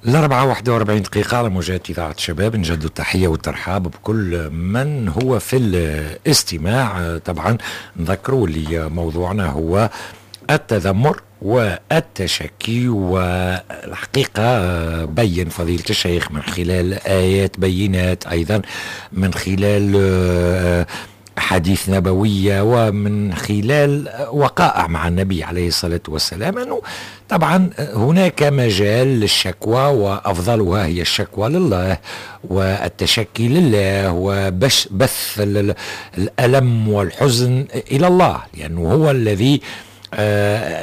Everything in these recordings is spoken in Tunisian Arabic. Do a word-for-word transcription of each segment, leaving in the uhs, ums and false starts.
الأربعة واحدة وأربعين دقيقة على موجات إذاعة شباب. نجدد التحية والترحاب بكل من هو في الاستماع. طبعا نذكروا اللي موضوعنا هو التذمر والتشكي، والحقيقة بين فضيلة الشيخ من خلال آيات بينات، أيضا من خلال أحاديث نبوية، ومن خلال وقائع مع النبي عليه الصلاة والسلام، أنه طبعا هناك مجال للشكوى، وأفضلها هي الشكوى لله والتشكي لله وبث الألم والحزن إلى الله، لأنه هو الذي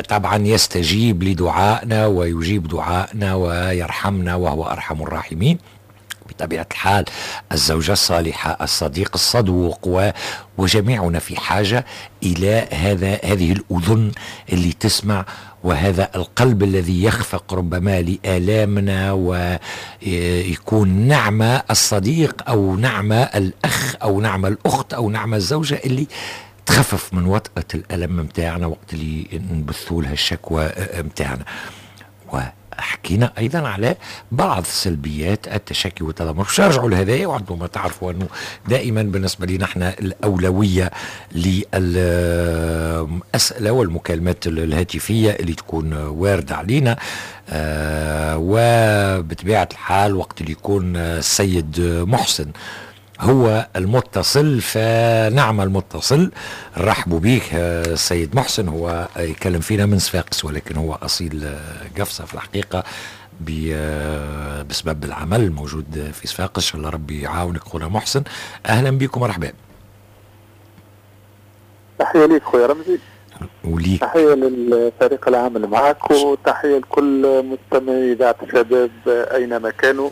طبعا يستجيب لدعائنا ويجيب دعائنا ويرحمنا وهو أرحم الراحمين. بطبيعة الحال الزوجة الصالحة، الصديق الصدوق، وجميعنا في حاجة إلى هذا هذه الأذن اللي تسمع، وهذا القلب الذي يخفق ربما لآلامنا، ويكون نعمة الصديق أو نعمة الأخ أو نعمة الأخت أو نعمة الزوجة اللي تخفف من وطأة الألم متاعنا وقت اللي نبثوا لها الشكوى متاعنا. وحكينا أيضا على بعض سلبيات التشكي والتذمر. باش نرجعوا لهذايا، وعندما تعرفوا أنه دائما بالنسبة لنا احنا الأولوية للأسئلة والمكالمات الهاتفية اللي تكون واردة علينا، آه وبطبيعة الحال وقت اللي يكون السيد محسن هو المتصل فنعم المتصل. رحبوا بيك السيد محسن، هو يكلم فينا من صفاقس ولكن هو أصيل قفصة في الحقيقة بسبب العمل الموجود في صفاقس. إن شاء الله ربي يعاونك خونا محسن، أهلا بكم ومرحبا. تحية ليك خويا رمزي، وليك تحية للفريق العامل معك، وتحية لكل مستمعي إذاعة الشباب أينما كانوا،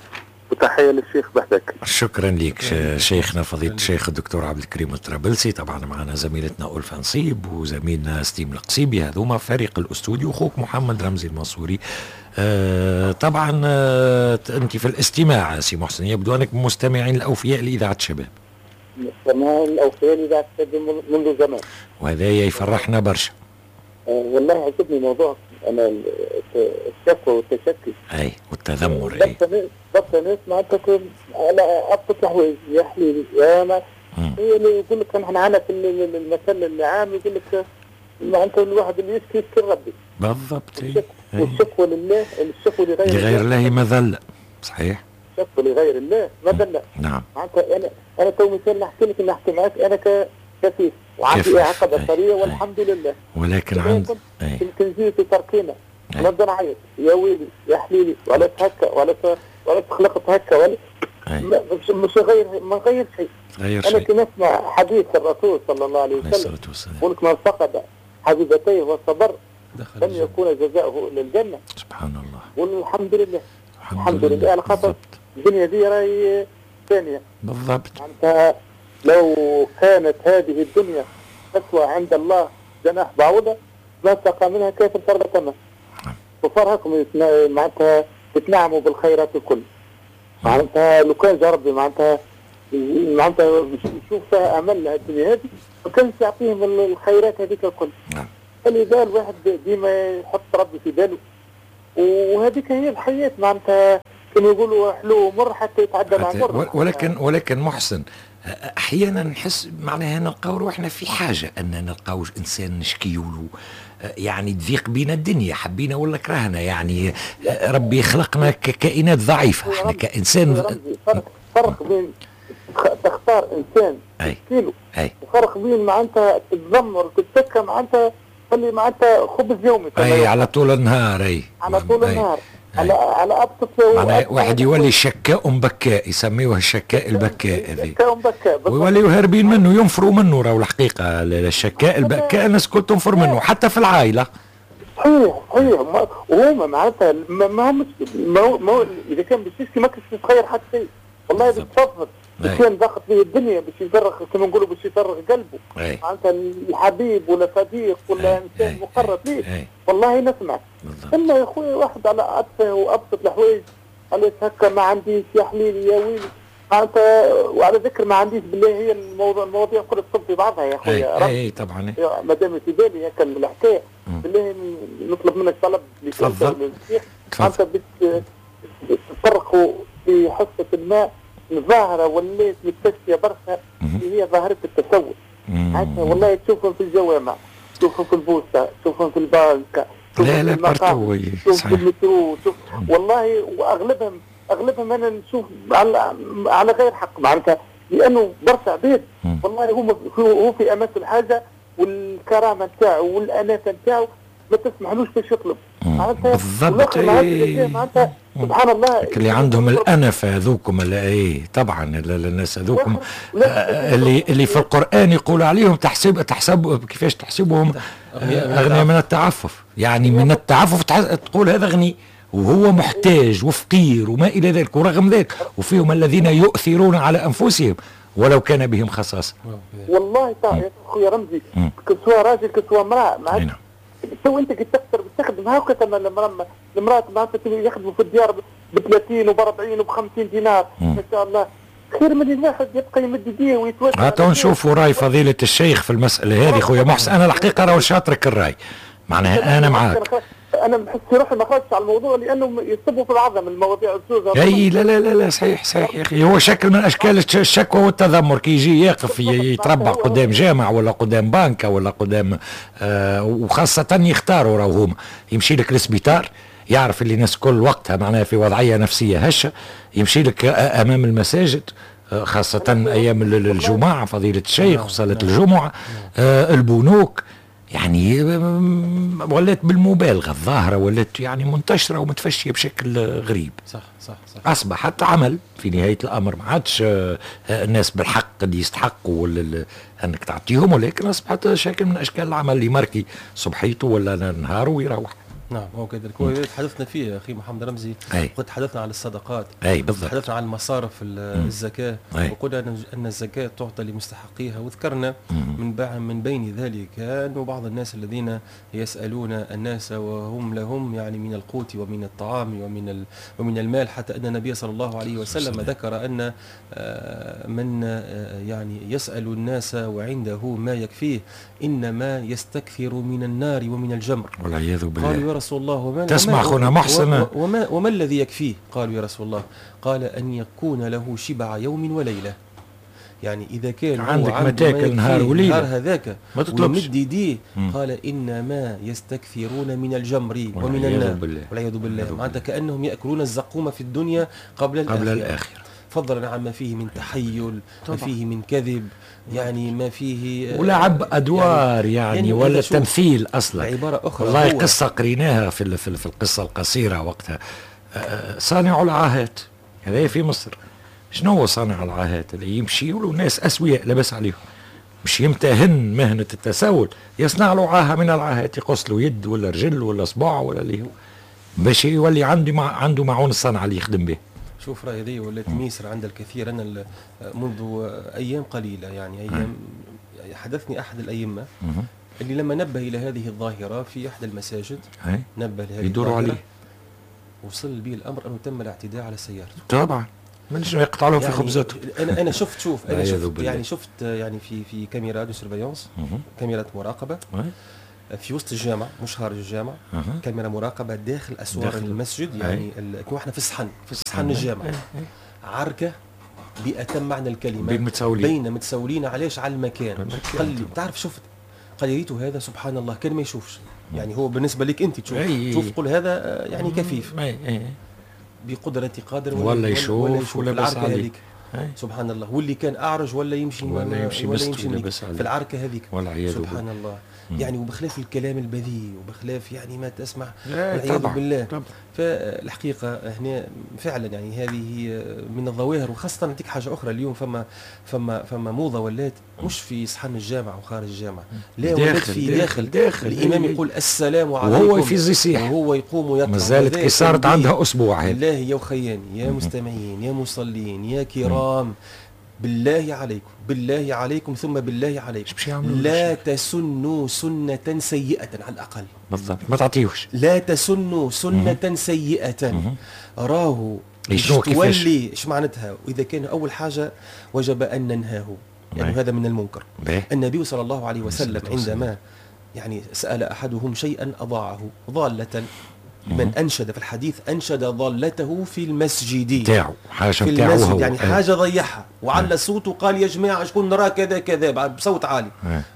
وتحية للشيخ بحدك. شكرا لك شيخنا فضيلة الشيخ الدكتور عبد الكريم الطرابلسي. طبعا معنا زميلتنا ألفة نصيب وزميلنا ستيم القصيبي، هذوما فريق الاستوديو، اخوك محمد رمزي المنصوري. آه طبعا آه انت في الاستماع سي محسن، يبدو انك مستمعين الاوفياء لاذاعة الشباب. مستمعين الاوفياء لاذاعة الشباب منذ زمان، وهذا يفرحنا برشا. آه والله عجبني موضوع انا الشكوى والتشكي اي والتذمر. اي بالضبط، ناس معناتها على ابسط الحوايج يا حليلي يا ما هي اللي يقول لك نحن عندنا في المثل العام يقول لك معناتها الواحد اللي يشكي يشكي ربي. بالضبط. والشكوى لله، الشكوى لغير لغير الله مذلة. صحيح، الشكوى لغير الله مذلة. نعم. معناتها انا انا تو مثال نحكي لك نحكي معك انا كفيف وعندي اعاقه بصريه والحمد لله، ولكن عند يمكن نجي في تركينا نبدا نعيط يا ويلي يا حليلي وعلاش هكا وعلاش وعلاش خلقت هكا ولا مش مش غير ما غير شيء. غير انا كي نسمع حديث الرسول صلى الله عليه وسلم يقول لك من فقد حبيبتيه وصبر لم يكون جزاؤه الا الجنة. سبحان الله. والحمد لله الحمد لله على خاطر الدنيا دي راهي ثانية. بالضبط. معناتها لو كانت هذه الدنيا تسوى عند الله جناح بعوضة ما سقى منها كيف شربة ماء. وفرحكم معناتها تتنعموا بالخيرات الكل. معناتها لو كان جا ربي معناتها معناتها يشوف فيها امل الدنيا هذه ما كانش يعطيهم الخيرات هذيك الكل. نعم. فلذا الواحد ديما يحط ربي في باله، وهذيك هي الحياة معناتها كانوا يقولوا حلو مر حتى يتعدى مع مر. ولكن ولكن محسن احيانا نحس معناها نلقاو روحنا في حاجة ان نلقاو انسان نشكيو له، يعني تضيق بينا الدنيا حبينا ولا كرهنا، يعني ربي خلقنا ككائنات ضعيفة احنا كانسان. فرق, فرق بين تختار انسان تشكيله وفرق بين معناتها تتذمر وتتشكى معناتها تخلي معناتها خبز يومي اي على طول النهار. اي على طول النهار على على ابسط معناها واحد يولي شكاء بكاء، يسميوه الشكاء البكاء هذه. شكاء بكاء ويوليوا هاربين منه، ينفروا منه. راهو الحقيقة الشكاء البكاء الناس الكل تنفر منه حتى في العائلة. صحيح صحيح. وهما معناتها ما همش ما ما اذا كان باش يشكي ما كانش تغير حتى شيء والله بتفضل. كان ضغط به الدنيا باش يفرغ كما نقولوا باش يفرغ قلبه معناتها الحبيب ولا صديق ولا انسان مقرب ليه والله نسمع. اما يا خويا واحد على اتفه وابسط الحوايج علاش هكا ما عنديش يا حليلي يا ويلي معناتها. وعلى ذكر ما عنديش بالله هي الموضوع المواضيع كلها تصب في بعضها يا خويا. اي طبعا ما دام في بالي هكا الحكاية بالله نطلب منك طلب. تفضل. معناتها باش في حصة ما ظاهره ولات متفشيه برشا اللي هي ظاهره التسول. والله تشوفهم في الجوامع، تشوفهم في البوسطه، تشوفهم في البنك، لا لا partout، تشوف في المترو، تشوف والله واغلبهم اغلبهم انا نشوف على على غير حق معناتها، لانه برشا عباد والله هو هو في امس الحاجة والكرامة نتاعو والانافه نتاعو ما تسمحلوش باش يطلب. بالضبط معناتها سبحان الله اللي عندهم الانفه هذوكم، اي طبعا الناس هذوكم اللي اللي في القران يقول عليهم تحسب تحسب كيفاش تحسبهم اغنياء من التعفف، يعني من التعفف تقول هذا غني وهو محتاج وفقير وما الى ذلك، ورغم ذلك وفيهم الذين يؤثرون على انفسهم ولو كان بهم خصاصة. والله يا خويا رمزي كسوا راجل كسوا امراة معناتها تو انت كي تقدر تخدم هاكا تما المراة المراة معناتها يخدموا في الديار ب ثلاثين وب أربعين وب خمسين دينار ما شاء الله، خير من الواحد يبقى يمد يديه ويتوجه. هاتوا نشوفوا راي فضيلة الشيخ في المسألة هذه خويا محسن. أنا الحقيقة راهو شاطرك الراي، معناها أنا معاك. أنا بحس روحي ما خرجتش على الموضوع لأنه يصبوا في العظم المواضيع الزوزة. أي لا لا لا لا صحيح صحيح يا أخي، هو شكل من أشكال الشكوى والتذمر كي يجي يقف يتربع قدام جامع ولا قدام بنكة ولا قدام آه، وخاصة يختاروا راهو هما يمشي لك للسبيطار يعرف اللي الناس كل وقتها معناها في وضعية نفسية هشة، يمشي لك أمام المساجد خاصة أيام الجمعة فضيلة الشيخ وصلاة الجمعة، آه البنوك، يعني ولات بالمبالغة الظاهرة ولات يعني منتشرة ومتفشية بشكل غريب. صح صح صح. أصبحت عمل في نهاية الأمر، ما عادش الناس بالحق اللي يستحقوا أنك تعطيهم، ولكن أصبحت شكل من أشكال العمل اللي ماركي صبحيته ولا نهاره ويروح. نعم هو كذلك. هو تحدثنا فيه اخي محمد رمزي، وقد تحدثنا عن الصدقات، اي بالضبط، تحدثنا عن مصارف الزكاة، وقلنا ان الزكاة تعطى لمستحقيها، وذكرنا من من بين ذلك انه بعض الناس الذين يسالون الناس وهم لهم يعني من القوت ومن الطعام ومن ومن المال، حتى ان النبي صلى الله عليه وسلم ذكر ان من يعني يسال الناس وعنده ما يكفيه انما يستكثر من النار ومن الجمر، والعياذ بالله. قالوا يا رسول الله وما تسمع أخونا محسن وما, وما الذي يكفيه؟ قالوا يا رسول الله، قال أن يكون له شبع يوم وليلة. يعني إذا كان عندك ما تاكل نهار وليلة نهار هذاك ويمد يديه، قال إنما يستكثرون من الجمر ومن النار والعياذ بالله. معناتها كأنهم يأكلون الزقوم في الدنيا قبل الآخرة, قبل الآخرة. فضلا عما فيه من تحيل، ما فيه من كذب، يعني ما فيه ولعب ادوار، يعني, يعني ولا تمثيل اصلا. عبارة اخرى والله قصة قريناها في في القصة القصيرة وقتها، صانع العاهات هذا في مصر. شنو هو صانع العاهات؟ اللي يمشي له ناس اسوياء لاباس عليهم، مش يمتهن مهنة التسول، يصنع له عاهة من العاهات، يقص له يد ولا رجل ولا صباع ولا اللي هو، باش يولي عنده مع عنده معون الصنعة اللي يخدم به. شوف راهي هذه ولات ميسر عند الكثير. انا منذ ايام قليله يعني ايام حدثني احد الائمة اللي لما نبه الى هذه الظاهرة في احد المساجد، نبه لهذه يدوروا عليه، وصل به الامر انه تم الاعتداء على سيارته. طبعا من شنو يقطع لهم يعني في خبزته. انا انا شفت شوف انا شفت يعني شفت يعني في في كاميرا de surveillance، كاميرات مراقبة في وسط الجامع مش خارج الجامع، أه. كاميرا مراقبة داخل اسوار داخل المسجد، يعني كنا احنا في الصحن، في صحن الجامع، عركة بأتم معنى الكلمة بين متسولين، بين متسولين. علاش؟ على المكان. قال لي تعرف شفت، قال لي ريتو هذا سبحان الله كان ما يشوفش، يعني هو بالنسبة لك انت تشوف تشوف تقول هذا يعني كفيف، أي. بقدره قادر ولا, ولا يشوف ولا, يشوف ولا العركه هذيك. سبحان الله. واللي كان اعرج ولا يمشي ولا يمشي ولا يمشي في العركه هذيك، سبحان الله. مم. يعني وبخلاف الكلام البذيء وبخلاف يعني ما تسمع والعياذ بالله. طبعا. فالحقيقة هنا فعلا يعني هذه من الظواهر. وخاصة نعطيك حاجة اخرى، اليوم فما فما فما موضة ولات مش في صحن الجامع وخارج الجامع، لا ولات في داخل, داخل, داخل. الامام يقول السلام عليكم وهو في يصيح وهو يقوم ويطلع. مازالت كي صارت عندها اسبوع هذه. بالله يا وخياني يا مستمعين يا مصلين يا كرام، بالله عليكم بالله عليكم ثم بالله عليكم، لا تسنوا سنة سيئة على الأقل. بالضبط، ما تعطيوش. لا تسنوا سنة سيئة. راهو تولي ايش معناتها؟ وإذا كان أول حاجة وجب أن ننهاه، يعني هذا من المنكر. بيه. النبي صلى الله عليه وسلم عندما يعني سأل أحدهم شيئا أضاعه ضالة، لمن أنشد في الحديث أنشد ضالته في المسجد تاعو، حاجة في المسجد يعني حاجة ضيعها وعلى صوته قال يا جماعة شكون نرى كذا كذا بصوت عالي.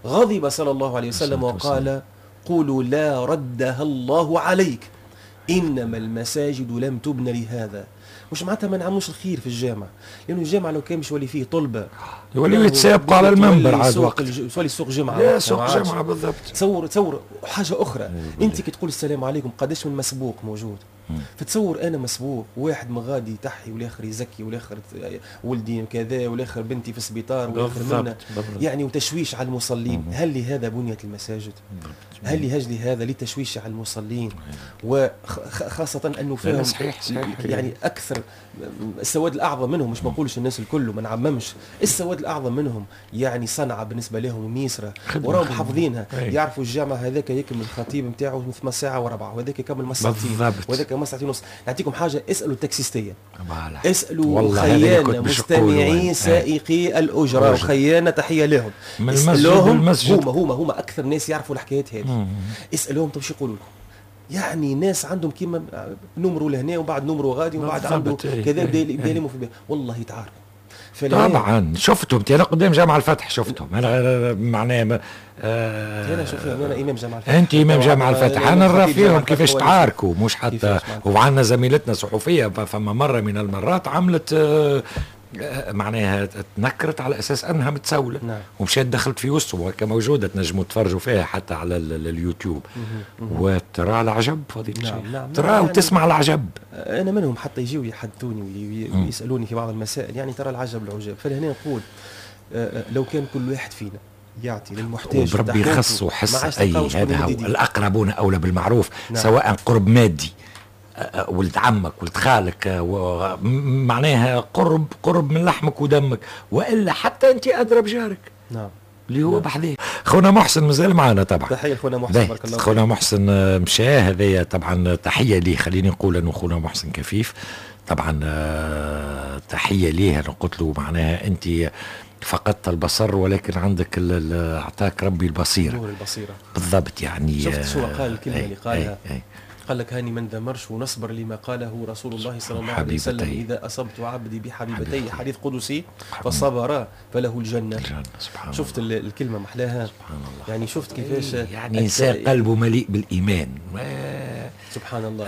غضب صلى الله عليه وسلم وقال قولوا لا ردها الله عليك، إنما المساجد لم تبن لهذا. مش معناتها ما نعملوش الخير في الجامع، لأنه الجامع لو كان مش يولي فيه طلبة يوليو يتسابقوا على المنبر عاد وقت يولي سوق جمعة، لا سوق جمعة بالضبط. تصور تصور حاجة أخرى، أنت كي تقول السلام عليكم قداش من مسبوق موجود، فتصور أنا مسبوق واحد من غادي يتحي والآخر يزكي والآخر ولدي كذا والآخر بنتي في السبيطار والآخر منا، يعني وتشويش على المصلين. هل لهذا بنيت المساجد؟ هل لهجل هذا لتشويش على المصلين؟ وخاصة أنه فيهم صحيح صحيح يعني أكثر السواد الأعظم منهم، مش ما نقولش الناس الكل وما نعممش، السواد الأعظم منهم يعني صنعة بالنسبة لهم ميسرة وراهم حافظينها، يعرفوا الجامع هذاك يكمل الخطيب نتاعو ثم ساعة وربعة وهذاك يكمل مساعتين وهذاك مساعتين ونص. نعطيكم حاجة، اسألوا التاكسيستية، اسألوا خيانة مستمعي سائقي الأجرة وخيانة تحية لهم، اسألوهم هما هما هما أكثر ناس يعرفوا الحكايات هذه، اسألوهم طب شو يقولوا لكم. يعني ناس عندهم كيما نمروا لهنا وبعد نمروا غادي وبعد عنده كذا بدا يلموا في البيت، والله يتعاركوا. طبعا شفتهم انا قدام جامع الفتح، شفتهم انا معناها آه انا شوف انا امام جامع الفتح، انت امام جامع الفتح، انا نرى فيهم كيفاش تعاركوا، مش حتى وعندنا زميلتنا صحفية فما مرة من المرات عملت آه معناها تنكرت على اساس انها متسوله. نعم. ومشات دخلت في وسطهم وهكا موجودة تنجموا تفرجوا فيها حتى على اليوتيوب. وترى العجب فضيلة الشيخ. نعم. نعم. ترى يعني وتسمع العجب. انا منهم حتى يجيو يحدثوني ويسالوني في بعض المسائل، يعني ترى العجب العجاب. فلهنا نقول لو كان كل واحد فينا يعطي للمحتاج وربي يخصه حس اي هذا هو الاقربون اولى بالمعروف. نعم. سواء قرب مادي، ولد عمك ولد خالك، معناها قرب قرب من لحمك ودمك، والا حتى انت ادرى بجارك. نعم. اللي هو بحذاك. خونا محسن مازال معنا طبعا، تحية لخونا محسن، بارك الله. خونا محسن مشى هذايا طبعا، تحية ليه، خليني نقول انه خونا محسن كفيف طبعا، تحية ليه. انا قلت له معناها انت فقدت البصر ولكن عندك اعطاك ربي البصيرة. نور البصيرة بالضبط. يعني شفت شو قال الكلمة اللي قالها؟ أي أي. قال لك هاني من دمرش ونصبر لما قاله رسول الله صلى الله عليه وسلم، إذا أصبت عبدي بحبيبتي، حديث قدسي، فصبر فله الجنة. الجنة. سبحان شفت الله. الكلمة محلاها. سبحان الله. يعني شفت كيفاش يعني إنسان قلبه مليء بالإيمان. سبحان الله.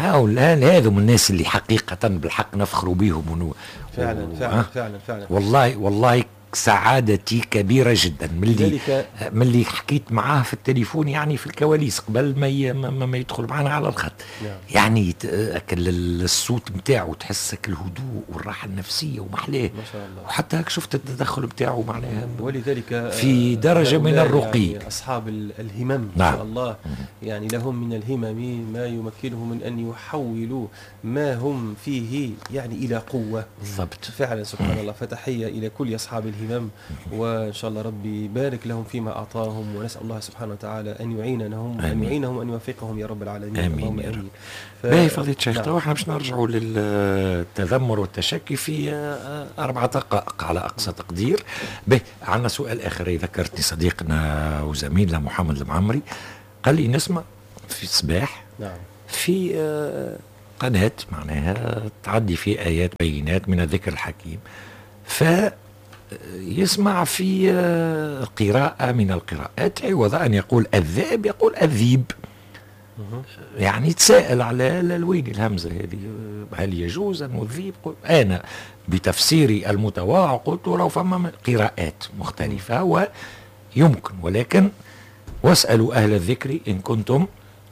هذو من الناس اللي حقيقة بالحق نفخروا بهم ونو... فعلا و... فعلا فعلا فعلا. والله والله سعادتي كبيرة جدا من اللي من اللي حكيت معاه في التليفون، يعني في الكواليس قبل ما ي... ما, ما يدخل معنا على الخط. نعم. يعني الصوت نتاعو تحسك الهدوء والراحة النفسية ومحلاه ما شاء الله. وحتى هك شفت التدخل نتاعو معناها ولذلك في درجة من الرقي. يعني أصحاب الهمم. نعم. ما شاء الله. يعني لهم من الهمم ما يمكنهم من أن يحولوا ما هم فيه يعني إلى قوة. بالضبط. فعلا سبحان الله. فتحية إلى كل أصحاب الهمم، وإن شاء الله ربي يبارك لهم فيما أعطاهم، ونسأل الله سبحانه وتعالى أن يعينهم أن يعينهم وأن يوفقهم يا رب العالمين. آمين يا رب. باهي فضيلة الشيخ، تو احنا باش نرجعوا للتذمر والتشكي في أربع دقائق على أقصى تقدير. باهي عندنا سؤال آخر ذكرتني صديقنا وزميلنا محمد المعمري، قال لي نسمع في الصباح. نعم. في قناة معناها تعدي في آيات بينات من الذكر الحكيم، ف يسمع في قراءة من القراءات عوض أن يقول الذئب يقول الذيب. يعني تساءل على الوين الهمزة هذه، هل يجوز أن الذيب؟ أنا بتفسيري المتواضع قلت لو فما قراءات مختلفة ويمكن، ولكن واسألوا أهل الذكر إن كنتم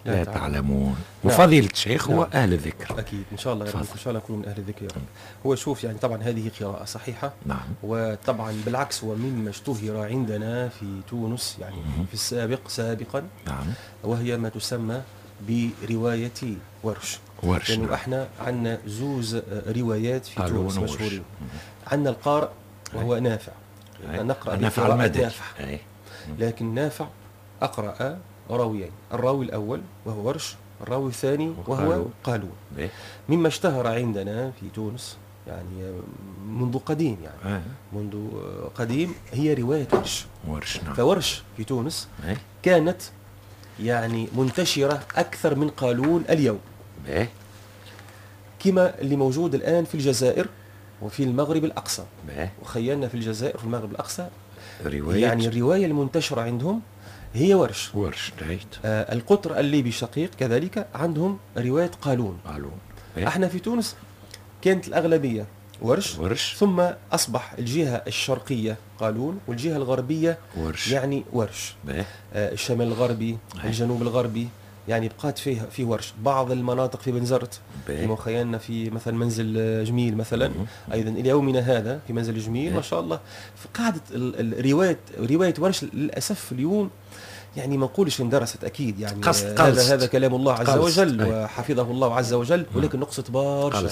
لا تعلمون. وفضيلة الشيخ هو أهل الذكر. أكيد إن شاء الله يا رب، إن شاء الله نكون من أهل الذكر يا رب. هو شوف يعني طبعا هذه قراءة صحيحة. نعم. وطبعا بالعكس هو مما اشتهر عندنا في تونس يعني مم. في السابق سابقا. نعم. وهي ما تسمى برواية ورش. ورش. لأنه يعني احنا عندنا زوز روايات في تونس مشهورين. عندنا القارئ وهو نافع. نقرأ نافع المدني. نافع. لكن نافع أقرأ راويين، الراوي الأول وهو ورش، الراوي الثاني وهو قالون. مما اشتهر عندنا في تونس يعني منذ قديم يعني آه. منذ قديم هي رواية ورش. ورش. نعم. فورش في تونس آه. كانت يعني منتشرة أكثر من قالون اليوم. باهي. كما اللي موجود الآن في الجزائر وفي المغرب الأقصى. باهي. وخيالنا في الجزائر وفي المغرب الأقصى رواية، يعني الرواية المنتشرة عندهم هي ورش. ورش right. آه القطر الليبي الشقيق كذلك عندهم رواية قالون. قالون. احنا في تونس كانت الأغلبية ورش. ورش. ثم أصبح الجهة الشرقية قالون والجهة الغربية ورش. يعني ورش. آه الشمال الغربي، الجنوب الغربي، يعني بقات فيها في ورش. بعض المناطق في بنزرت كما خيالنا في مثلا منزل جميل مثلا. مم. ايضا الى يومنا هذا في منزل جميل ما شاء الله قاعدة الرواية، رواية ورش للاسف اليوم يعني ما نقولش اندرست اكيد، يعني قصد هذا هذا كلام الله عز قلصت. وجل وحفظه الله عز وجل، ولكن نقصت برشا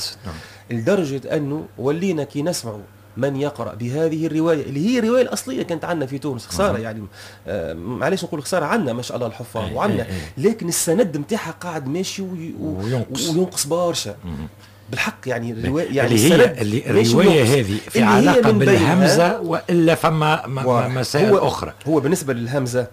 لدرجة انه ولينا كي نسمعوا من يقرأ بهذه الرواية اللي هي الرواية الأصلية كانت عندنا في تونس، خسارة يعني آه معليش نقول خسارة، عندنا ما شاء الله الحفاظ وعندنا، لكن السند نتاعها قاعد ماشي وي وينقص, وينقص برشا بالحق. يعني الرواية يعني اللي هي اللي الرواية هذه في علاقة بالهمزة وإلا فما مسائل هو أخرى. هو بالنسبة للهمزة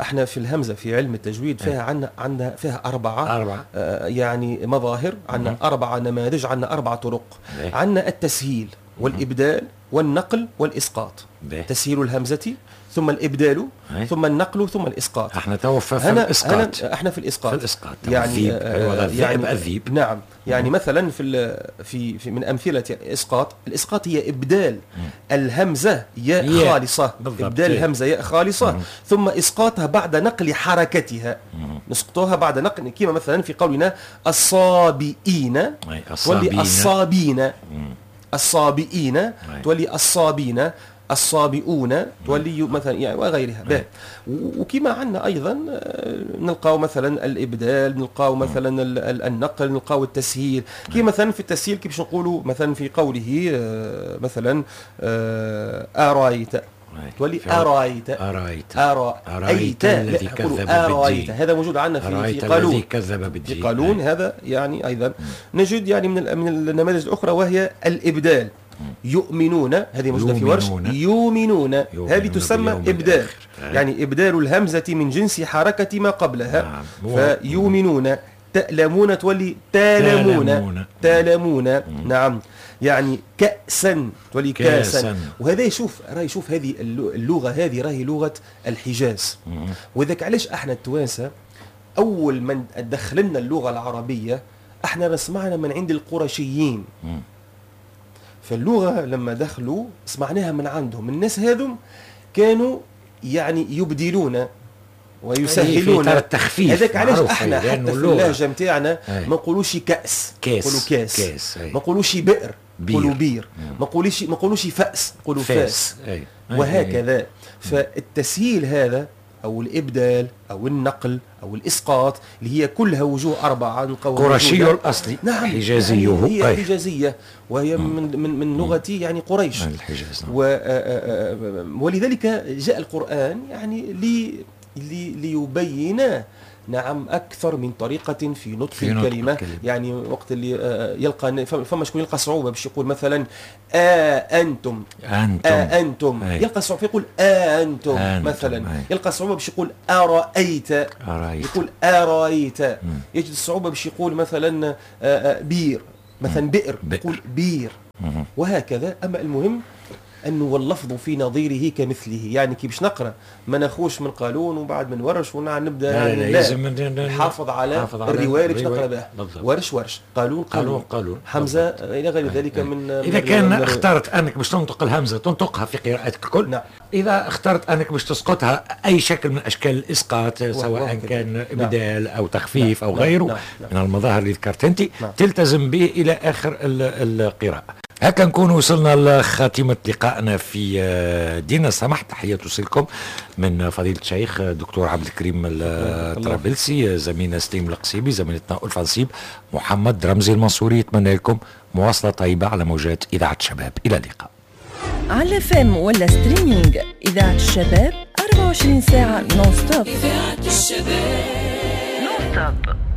احنا في الهمزة في علم التجويد فيها عندنا عندنا فيها أربعة أربعة آه يعني مظاهر، عندنا أربعة نماذج، عندنا أربعة طرق. عندنا التسهيل والإبدال والنقل والإسقاط. به. تسهيل الهمزة ثم الإبدال هي. ثم النقل ثم الإسقاط. احنا تو في الإسقاط. احنا في الإسقاط. في الإسقاط يعني آه يعني الذيب. نعم يعني مم. مثلا في في, في من أمثلة الإسقاط، الإسقاط هي إبدال مم. الهمزة ياء خالصة. بالضبط. إبدال الهمزة ياء خالصة مم. ثم إسقاطها بعد نقل حركتها. مم. نسقطها بعد نقل، كما مثلا في قولنا الصابئين تولي الصابين، الصابئين تولي الصابين، الصابئون تولي مثلا يعني وغيرها. وكما عندنا ايضا نلقاو مثلا الابدال، نلقاو مثلا النقل، نلقاو التسهيل. كما مثلا في التسهيل كيفاش نقولوا مثلا في قوله مثلا ارايت تولي أرايت أرايت أرايت الذي كذب بالدين. هذا موجود عندنا في في قالون، كذب بالدين في قالون. هذا يعني أيضا نجد يعني من من النماذج الأخرى وهي الإبدال. يؤمنون، هذه موجودة في ورش، يؤمنون، هذه تسمى إبدال، يعني إبدال الهمزة من جنس حركة ما قبلها. فيؤمنون. تألمون تولي تالمون، تالمون. نعم يعني كأسا تولي كاسا. وهذا يشوف راهي يشوف هذه اللغة، هذه راهي لغة الحجاز. وذاك علاش احنا التوانسة أول من دخلنا اللغة العربية احنا سمعنا من عند القرشيين. فاللغة لما دخلوا سمعناها من عندهم. الناس هذم كانوا يعني يبدلون ويسهلون التخفيف. هذاك علاش احنا حتى في اللهجة نتاعنا ما نقولوش كأس، نقولوا كاس. كاس. ما نقولوش بئر، نقولوا بير. ما نقولوش ما نقولوش فأس، نقولوا فاس. أي. وهكذا. فالتسهيل هذا او الابدال او النقل او الاسقاط اللي هي كلها وجوه اربعة نلقاوها قرشي الاصلي. نعم حجازيه، يعني هي حجازيه وهي من من من لغة يعني قريش الحجاز. و ولذلك جاء القرآن يعني لي ليبين نعم أكثر من طريقة في نطق في نطق الكلمة. الكلمة. يعني وقت اللي يلقى فما شكون يلقى صعوبة باش يقول مثلا آ أنتم، أنتم، آ أنتم. أي. يلقى صعوبة يقول آ أنتم، أنتم مثلا. أي. يلقى صعوبة باش يقول أرأيت، أرأيت. يقول أرأيت. م. يجد الصعوبة باش يقول مثلا بير، مثلا بئر، يقول بير. م. وهكذا. أما المهم أنه واللفظ في نظيره كمثله، يعني كي باش نقرأ ما ناخوش من قالون وبعد من ورش ونبدا لا لا لازم نحافظ على, على الرواية اللي باش نقرأ بها. ورش ورش، قالون قالون، قالون حمزة إلى غير ذلك. من إذا كان اخترت أنك باش تنطق الهمزة تنطقها في قراءتك الكل. نعم. إذا اخترت أنك باش تسقطها أي شكل من أشكال الإسقاط، سواء كان إبدال نعم. أو تخفيف نعم. أو غيره نعم. نعم. من المظاهر اللي ذكرت أنت، نعم. تلتزم به إلى آخر القراءة. هكا نكون وصلنا لخاتمة لقائنا في دينا سمح. تحية توصلكم من فضيلة الشيخ دكتور عبد الكريم الطرابلسي، زميلنا سليم القصيبي، زميلتنا ألفة نصيب، محمد رمزي المنصوري. يتمنى لكم مواصلة طيبة على موجات إذاعة الشباب. إلى اللقاء. على FM ولا streaming إذاعة الشباب أربعة وعشرين ساعة non-stop. إذاعة الشباب non-stop.